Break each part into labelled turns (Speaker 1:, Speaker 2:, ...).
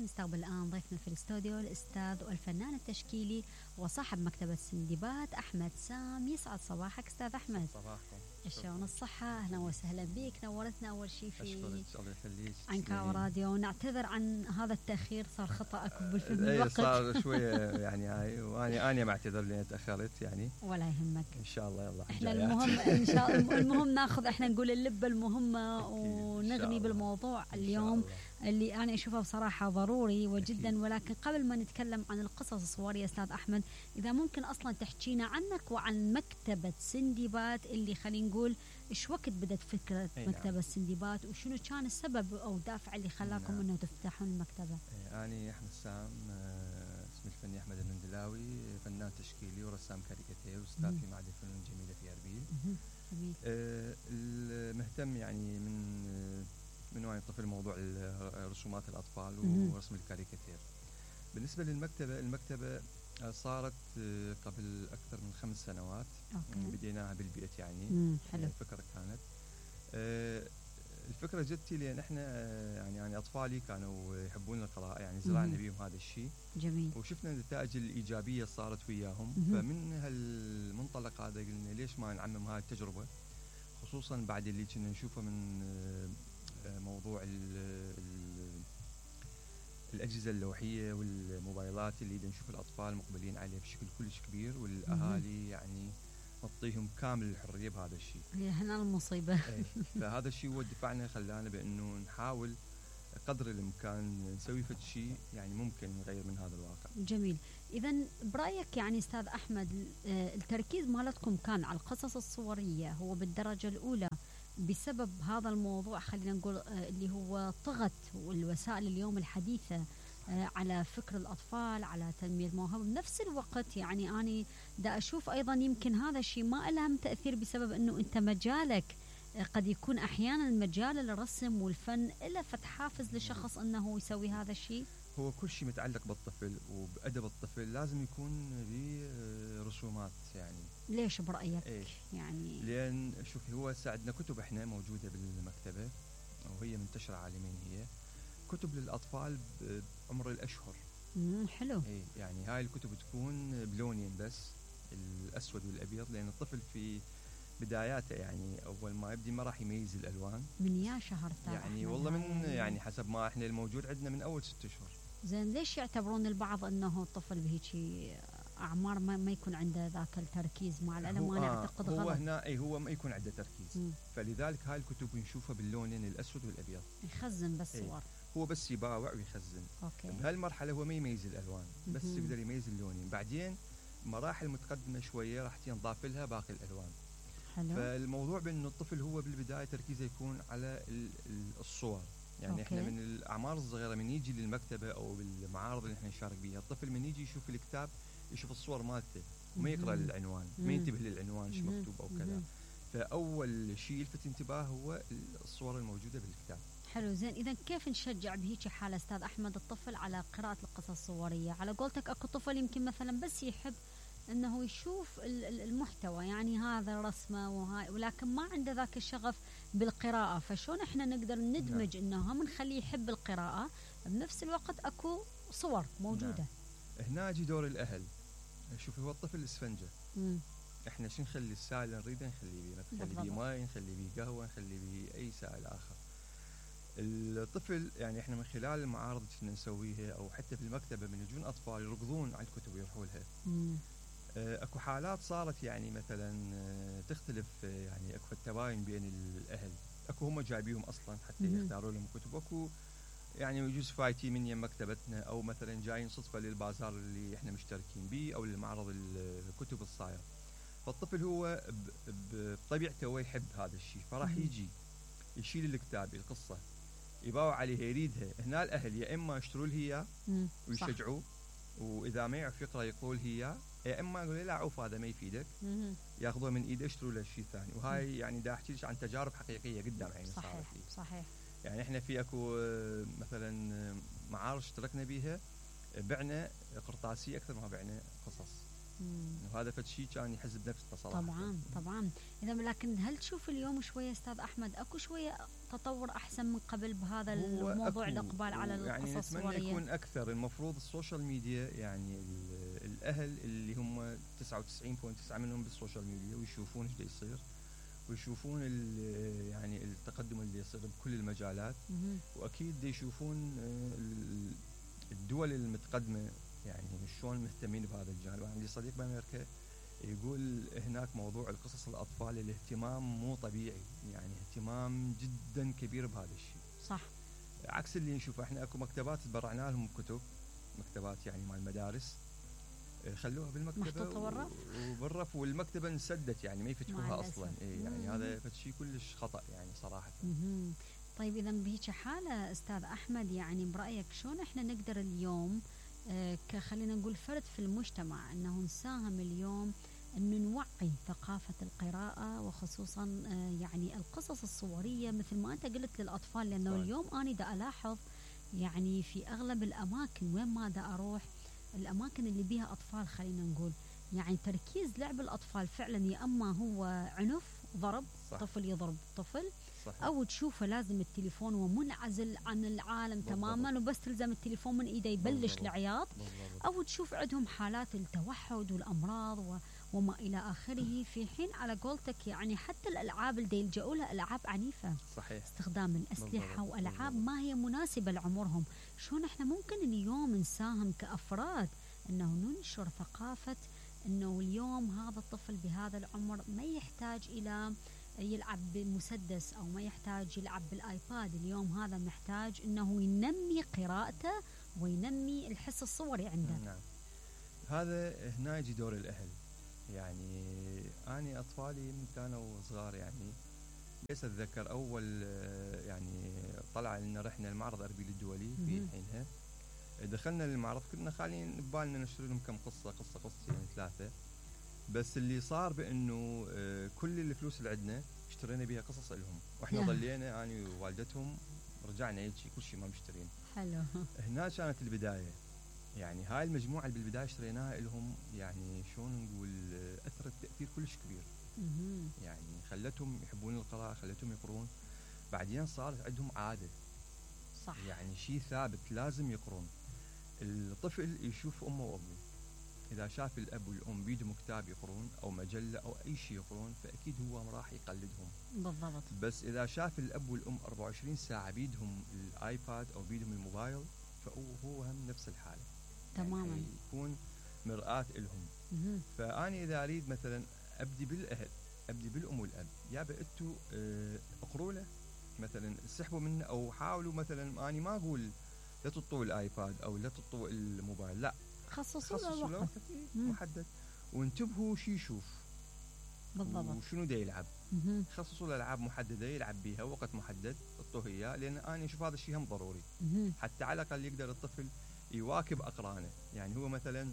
Speaker 1: ونستقبل الآن ضيفنا في الاستوديو الأستاذ والفنان التشكيلي وصاحب مكتبة سندباد أحمد سام. يسعد صباحك أستاذ أحمد.
Speaker 2: صباحكم.
Speaker 1: شلون الصحة؟ أهلا وسهلا بك، نورتنا أول شيء في
Speaker 2: الله يخليك
Speaker 1: عنكاو راديو. نعتذر عن هذا التأخير، صار خطأ بالفيلم
Speaker 2: الوقت
Speaker 1: الوقت
Speaker 2: صار شوية يعني هاي، وأنا معتذر لأني تأخرت يعني.
Speaker 1: ولا يهمك
Speaker 2: إن شاء الله. يلا
Speaker 1: احنا المهم إن شاء الله المهم ناخذ، احنا نقول اللبة المهمة ونغني بالموضوع اليوم اللي أنا أشوفه بصراحة ضروري وجدا أكيد. ولكن قبل ما نتكلم عن القصص الصورية أستاذ أحمد، إذا ممكن أصلا تحكينا عنك وعن مكتبة سندباد اللي خلينا نقول إيش وقت بدأت فكرة مكتبة سندباد وشنو كان السبب أو الدافع اللي خلاكم إنه تفتحون المكتبة؟
Speaker 2: أنا أحمد سام، اسمي الفني أحمد المندلاوي، فنان تشكيلي ورسام كاريكاتير وأستاذ في معهد الفنون الجميلة في أربيل.
Speaker 1: جميل.
Speaker 2: المهتم يعني من وعي طفل موضوع رسومات الأطفال ورسم الكاريكاتير. بالنسبة للمكتبة، المكتبة صارت قبل أكثر من 5 سنوات. بديناها بالبيت يعني.
Speaker 1: حلو.
Speaker 2: الفكرة كانت الفكرة جتي لأن احنا يعني أطفالي كانوا يحبون القراءة، يعني زرعنا بيهم هذا الشيء.
Speaker 1: جميل.
Speaker 2: وشفنا النتائج الإيجابية صارت وياهم. فمن هالمنطلق هذا قلنا ليش ما نعمم هاي التجربة، خصوصا بعد اللي كنا نشوفه من موضوع الأجهزة اللوحية والموبايلات اللي نشوف الأطفال مقبلين عليه بشكل كلش كبير، والأهالي يعني نعطيهم كامل الحرية بهذا الشيء.
Speaker 1: هي هنا المصيبة.
Speaker 2: فهذا الشيء هو دفعنا خلانا بأنه نحاول قدر الإمكان نسوي فد شيء يعني ممكن نغير من هذا الواقع.
Speaker 1: جميل. إذا برأيك يعني أستاذ أحمد التركيز مالتكم كان على القصص الصورية هو بالدرجة الأولى بسبب هذا الموضوع، خلينا نقول اللي هو طغت والوسائل اليوم الحديثة على فكر الأطفال، على تنمية الموهبة. بنفس الوقت يعني أنا دا أشوف أيضا يمكن هذا الشيء ما لهم تأثير بسبب أنه أنت مجالك قد يكون أحيانا مجال الرسم والفن إلا فتح حافز لشخص أنه يسوي هذا الشيء.
Speaker 2: هو كل شيء متعلق بالطفل وبأدب الطفل لازم يكون برسومات يعني.
Speaker 1: ليش برأيك؟ يعني
Speaker 2: لأن شوفي هو عندنا كتب احنا موجودة بالمكتبة وهي منتشرة عالميا، هي كتب للأطفال بعمر الأشهر.
Speaker 1: حلو.
Speaker 2: يعني هاي الكتب تكون بلونين بس، الأسود والأبيض، لأن الطفل في بداياته يعني أول ما يبدي ما راح يميز الألوان.
Speaker 1: من يا شهر
Speaker 2: يعني والله من يعني حسب ما احنا الموجود عندنا من أول 6 أشهر.
Speaker 1: زين ليش يعتبرون البعض أنه الطفل بهيجي أعمار ما يكون عنده ذاك التركيز؟ مع العلم أنا أعتقد
Speaker 2: هو
Speaker 1: غلط.
Speaker 2: هنا هو ما يكون عنده تركيز. فلذلك هاي الكتب نشوفها باللونين الأسود والأبيض.
Speaker 1: يخزن بس صور.
Speaker 2: هو بس يباوع ويخزن. بهالمرحلة هو ما يميز الألوان، بس يقدر يميز اللونين. بعدين مراحل متقدمة شوية راح تنضاف لها باقي الألوان.
Speaker 1: حلو.
Speaker 2: فالموضوع بأنه الطفل هو بالبداية تركيزه يكون على الصور. يعني احنا من الأعمار الصغيرة من يجي للمكتبة أو بالمعارض اللي احنا نشارك بيها، الطفل من يجي يشوف الكتاب يشوف الصور مالته وما يقرأ العنوان، ما ينتبه للعنوان شو مكتوب أو كذا. فأول شيء يلفت انتباه هو الصور الموجودة بالكتاب.
Speaker 1: حلو. زين إذا كيف نشجع بهيك حالة أستاذ أحمد الطفل على قراءة القصص الصورية؟ على قولتك أكو طفل يمكن مثلا بس يحب أنه يشوف المحتوى، يعني هذا الرسمة وهاي، ولكن ما عنده ذاك الشغف بالقراءة. فشون إحنا نقدر ندمج إنه هم نخليه يحب القراءة بنفس الوقت أكو صور موجودة؟
Speaker 2: هنا يجي دور الأهل. شوفي هو الطفل اسفنجة. إحنا شو نخلي السائل نريده نخليه بيه، نخلي بيه ماء، نخلي بيه قهوة، نخلي بيه أي سائل آخر. الطفل يعني إحنا من خلال المعارض اللي نسويها أو حتى في المكتبة من يجون أطفال يركضون على الكتب ويروحوا لها. اكو حالات صارت يعني مثلا تختلف، يعني اكو التباين بين الاهل، اكو هم جايبيهم اصلا حتى يختاروا لهم كتب، اكو يعني يجوز فايتي من يم مكتبتنا او مثلا جايين صدفه للبازار اللي احنا مشتركين به او للمعرض الكتب الصاير. فالطفل هو بطبيعته هو يحب هذا الشيء، فراح يجي يشيل الكتاب القصه يباوع عليها يريدها. هنا الاهل يا اما يشتروا له اياه ويشجعوه، واذا ما يعرف يقرا يقول هي، يا اما يقول لا عوف هذا ما يفيدك، ياخذوه من ايده يشتروا له شيء ثاني. وهاي يعني دا احكي لك عن تجارب حقيقيه قدام عيني صارت لي.
Speaker 1: صحيح.
Speaker 2: يعني احنا في اكو مثلا معارض اشتركنا بيها بعنا قرطاسيه اكثر ما بعنا قصص. وهذا فد شيء كان يحز بنفسه صراحه.
Speaker 1: طبعا. اذا لكن هل تشوف اليوم شويه استاذ احمد اكو شويه تطور احسن من قبل بهذا الموضوع الاقبال على القصص
Speaker 2: يعني
Speaker 1: الصوريه؟
Speaker 2: نتمنى يكون اكثر. المفروض السوشيال ميديا يعني الاهل اللي هم 99.9 منهم بالسوشيال ميديا ويشوفون ايش يصير ويشوفون يعني التقدم اللي يصير بكل المجالات، واكيد يشوفون الدول المتقدمه يعني شلون مهتمين بهذا الجانب. عندي صديق بامريكا يقول هناك موضوع القصص الاطفال الاهتمام مو طبيعي، يعني اهتمام جدا كبير بهذا الشيء.
Speaker 1: صح.
Speaker 2: عكس اللي نشوفه احنا، اكو مكتبات تبرعنا لهم كتب، مكتبات يعني مال المدارس خلوها بالمكتبه وبالرف، والمكتبه انسدت يعني ما يفتحوها اصلا. يعني هذا شيء كلش خطا يعني صراحه.
Speaker 1: طيب اذا بهيك حاله استاذ احمد، يعني برايك شلون احنا نقدر اليوم خلينا نقول فرد في المجتمع انه نساهم اليوم انه نوعي ثقافه القراءه، وخصوصا يعني القصص الصوريه مثل ما انت قلت للاطفال، لانه اليوم انا دا الاحظ يعني في اغلب الاماكن وين ما دا اروح، الاماكن اللي بيها اطفال خلينا نقول يعني تركيز لعب الاطفال فعلا يا اما هو عنف ضرب، صح. طفل يضرب طفل، صحيح. او تشوفه لازم التليفون ومنعزل عن العالم بالضبط. تماما، وبس تلزم التليفون من ايده يبلش العياط، او تشوف عندهم حالات التوحد والامراض وما الى اخره، في حين على قولتك يعني حتى الالعاب اللي يلجؤوا لها العاب عنيفه، صحيح. استخدام الاسلحه بالضبط. والعاب ما هي مناسبه لعمرهم. شلون احنا ممكن اليوم نساهم كافراد انه ننشر ثقافه انه اليوم هذا الطفل بهذا العمر ما يحتاج الى يلعب بمسدس او ما يحتاج يلعب بالايباد، اليوم هذا محتاج انه ينمي قراءته وينمي الحس الصوري عنده.
Speaker 2: نعم. هذا هنا يجي دور الاهل. يعني اني اطفالي من كانوا صغار يعني بس اتذكر اول يعني طلع لنا رحنا المعرض الاربيل الدولي في حينها، دخلنا للمعرض كنا خالين ببالنا نشتري لهم كم قصتين 3، بس اللي صار بانه كل الفلوس اللي عندنا اشترينا بها قصص لهم، واحنا ظلينا اني ووالدتهم رجعنا هيك كل شيء ما مشترين.
Speaker 1: حلو.
Speaker 2: هنا كانت البدايه، يعني هاي المجموعه اللي بالبدايه اشتريناها لهم يعني شلون نقول اثرت تاثير كلش كبير. يعني خلتهم يحبون القراءه، خلتهم يقرون، بعدين صارت عندهم عاده، صح. يعني شيء ثابت لازم يقرون. الطفل يشوف امه وابوه، اذا شاف الاب والام بيدهم كتاب يقرون او مجله او اي شيء يقرون فاكيد هو راح يقلدهم
Speaker 1: بالضبط.
Speaker 2: بس اذا شاف الاب والام 24 ساعه بيدهم الايباد او بيدهم الموبايل فهو هم نفس الحاله
Speaker 1: تماما،
Speaker 2: يعني يكون مرآة لهم. فاني اذا اريد مثلا ابدي بالاهل، ابدي بالام والاب، يا انتم اقروا له مثلا، اسحبوا منه او حاولوا مثلا، اني ما اقول لا تطوا الايباد او لا تطوا الموبايل، لا
Speaker 1: خصصوا له وقت
Speaker 2: محدد وانتبهوا شو يشوف
Speaker 1: بالضبط
Speaker 2: وشنو دا يلعب. خصصوا له العاب محدده يلعب بيها وقت محدد اعطوه اياه، لان انا اشوف هذا الشيء هم ضروري حتى على الاقل يقدر الطفل يواكب اقرانه. يعني هو مثلا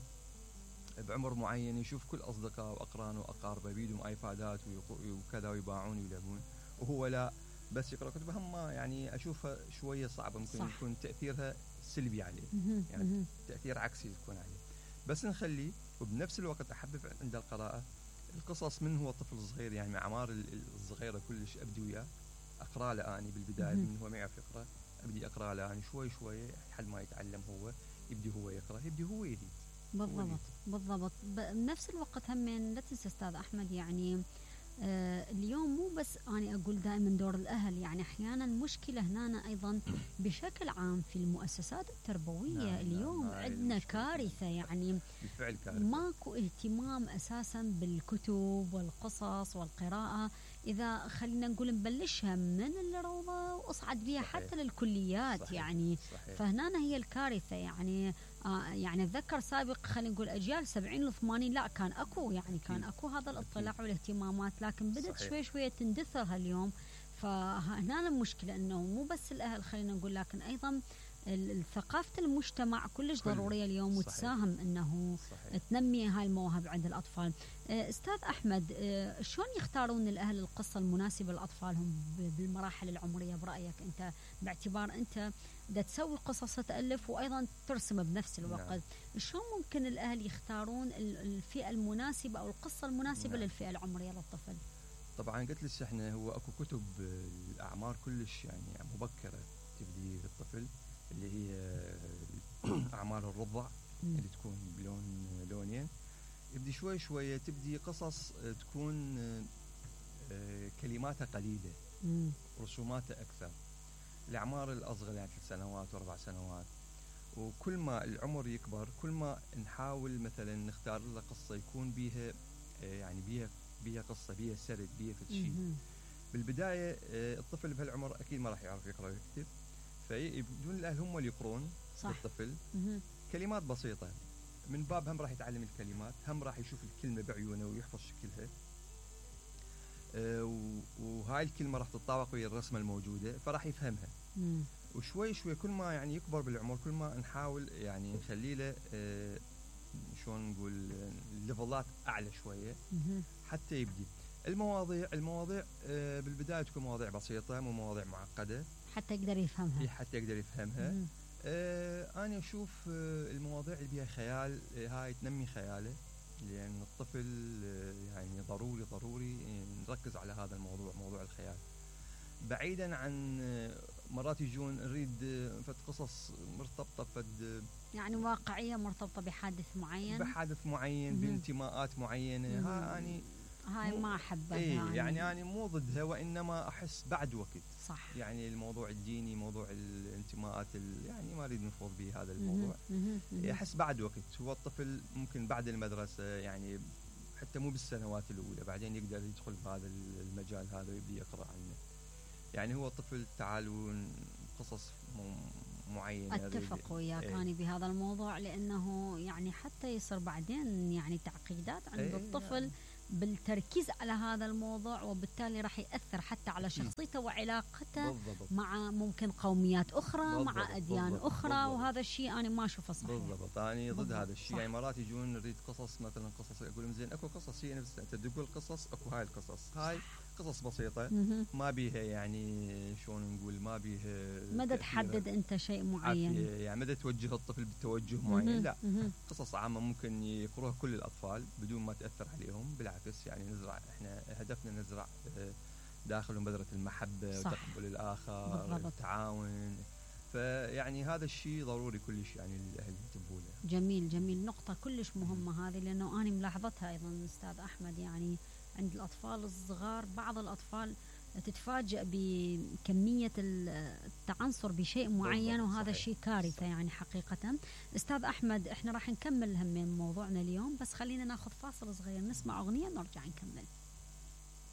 Speaker 2: بعمر معين يشوف كل اصدقائه واقرانه واقاربه بيدهم ايبادات وكذا ويباعون ويلعبون، وهو لا بس يقرا كتب. هم يعني اشوفها شويه صعبه، ممكن صح. يكون تاثيرها سلبي عليه، يعني تاثير عكسي يكون عليه. بس نخليه وبنفس الوقت احبب عند القراءه القصص من هو طفل صغير، يعني مع اعمار الصغيره كلش ابدي وياه اقرا له اني بالبدايه من هو ما يعرف يقرا، ابدي اقرا له اني شوي شوي لحد ما يتعلم هو، يبدي هو يقرا، يبدي هو يريد.
Speaker 1: بالضبط بالضبط. بنفس الوقت هم لا تنسى استاذ احمد، يعني اليوم مو بس أنا أقول دائما دور الأهل، يعني أحيانا مشكلة هنا أيضا بشكل عام في المؤسسات التربوية. نعم اليوم عندنا كارثة، يعني
Speaker 2: بالفعل كارثة.
Speaker 1: ماكو اهتمام أساسا بالكتب والقصص والقراءة. إذا خلينا نقول نبلشها من الروضة وأصعد بها حتى للكليات. صحيح. يعني صحيح. فهنا هي الكارثة. يعني يعني أتذكر سابق خلينا نقول أجيال 70 و80 لا كان أكو، يعني كان أكو هذا الاطلاع والاهتمامات، لكن بدأت صحيح. شوي شوي تندثر اليوم. فهنا المشكلة أنه مو بس الأهل خلينا نقول، لكن أيضا ثقافة المجتمع كلش ضرورية اليوم وتساهم أنه صحيح. تنمي هاي المواهب عند الأطفال. أستاذ أحمد، شلون يختارون الأهل القصة المناسبة لأطفالهم بالمراحل العمرية برأيك أنت، باعتبار أنت دا تسوي قصص تألف وأيضا ترسم بنفس الوقت.
Speaker 2: نعم.
Speaker 1: شلون ممكن الأهل يختارون الفئة المناسبة أو القصة المناسبة
Speaker 2: نعم.
Speaker 1: للفئة العمرية للطفل؟
Speaker 2: طبعا قلت لك احنا هو اكو كتب الاعمار كلش يعني مبكره تبدي للطفل، اللي هي اعمار الرضع اللي تكون لونين، يبدي شوي شويه تبدي قصص تكون كلماتها قليله، رسوماتها اكثر. الاعمار الاصغر يعني 3 سنوات و4 سنوات، وكل ما العمر يكبر كل ما نحاول مثلا نختار له قصه يكون بيها يعني بيها قصه، بيها سرد، بيها شيء. بالبدايه الطفل بهالعمر اكيد ما راح يعرف يقرا ويكتب، فيبدون الاهل هم اللي يقرون للطفل كلمات بسيطه، من باب هم راح يتعلم الكلمات، هم راح يشوف الكلمه بعيونه ويحفظ شكلها، وهاي الكلمه راح تتطابق ويا الرسمه الموجوده فراح يفهمها. وشوي شوي كل ما يعني يكبر بالعمر كل ما نحاول يعني نخلي له شلون نقول ليفلات اعلى شويه حتى يبدي. المواضيع بالبدايه تكون مواضيع بسيطه، مو مواضيع معقده،
Speaker 1: حتى يقدر يفهمها.
Speaker 2: حتى يقدر يفهمها. انا اشوف المواضيع اللي بيها خيال هاي تنمي خياله، لان الطفل يعني ضروري نركز على هذا الموضوع، موضوع الخيال. بعيدا عن مرات يجون نريد فد قصص مرتبطه فد
Speaker 1: يعني واقعيه مرتبطه بحادث معين،
Speaker 2: بانتماءات معينه،
Speaker 1: هاي ما احبها.
Speaker 2: يعني انا مو ضدها، وانما احس بعد وقت.
Speaker 1: صح.
Speaker 2: يعني الموضوع الديني، موضوع الانتماءات يعني ما اريد نفوض به هذا الموضوع. احس بعد وقت، هو الطفل ممكن بعد المدرسه يعني حتى مو بالسنوات الاولى بعدين يقدر يدخل بهذا المجال هذا ويبدي يقرا عنه. يعني هو الطفل تعالوا قصص معينه.
Speaker 1: اتفق وياك انا بهذا الموضوع، لانه يعني حتى يصير بعدين يعني تعقيدات عند الطفل بالتركيز على هذا الموضوع، وبالتالي راح يأثر حتى على شخصيته وعلاقته مع ممكن قوميات أخرى، مع أديان أخرى، وهذا الشيء أنا ما أشوفه صحيح.
Speaker 2: بالضبط، أنا ضد هذا الشيء. يعني مرات يجون نريد قصص، مثلا قصص أقول زين أكو قصص هي نفسها، أنت تقول قصص، أكو هاي القصص هاي قصص بسيطة ما بيها يعني شلون نقول ما بيها
Speaker 1: مدى تحدد أنت شيء معين،
Speaker 2: يعني مدى توجه الطفل بتوجه معين، لا قصص عامة ممكن يقروها كل الأطفال بدون ما تأثر عليهم. بالعكس يعني نزرع، احنا هدفنا نزرع داخلهم بذرة المحبة وتقبل الآخر، التعاون. فيعني هذا الشيء ضروري كلش يعني الأهل ينتبهوا له.
Speaker 1: جميل نقطة كلش مهمة هذه، لأنه أنا ملاحظتها أيضا أستاذ أحمد، يعني عند الأطفال الصغار بعض الأطفال تتفاجأ بكمية التعنصر بشيء معين، وهذا الشيء كارثة يعني حقيقة. أستاذ أحمد، إحنا راح نكمل هم موضوعنا اليوم، بس خلينا ناخذ فاصل صغير نسمع أغنية نرجع نكمل.